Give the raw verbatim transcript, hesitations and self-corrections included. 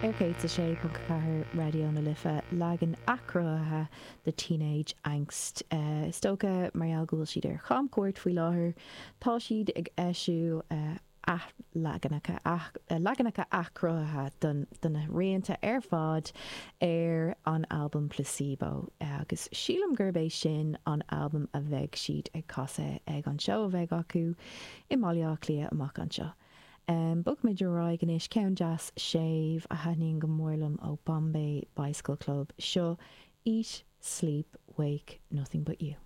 Ar céad a sé ponc ceathair Raidió na Life leagan athchruthaithe de Teenage Angst. Is dócha mar gheall go bhfuil siad ar chamchuairt faoi láthair, tá siad ag eisiú athleaganacha, leaganacha athchruthaithe de na rianta ar fad ar an albam Placebo agus sílim gurb é sin an albam a bheidh siad ag casadh ag an seó a bheidh acu i mBaile Átha Cliath amach anseo. Bogfaimid ar aghaidh anois ceann deas séimh a thaitníonn go mór liom ó Bombay Bicycle Club, seo Eat, Sleep, Wake, Nothing But You.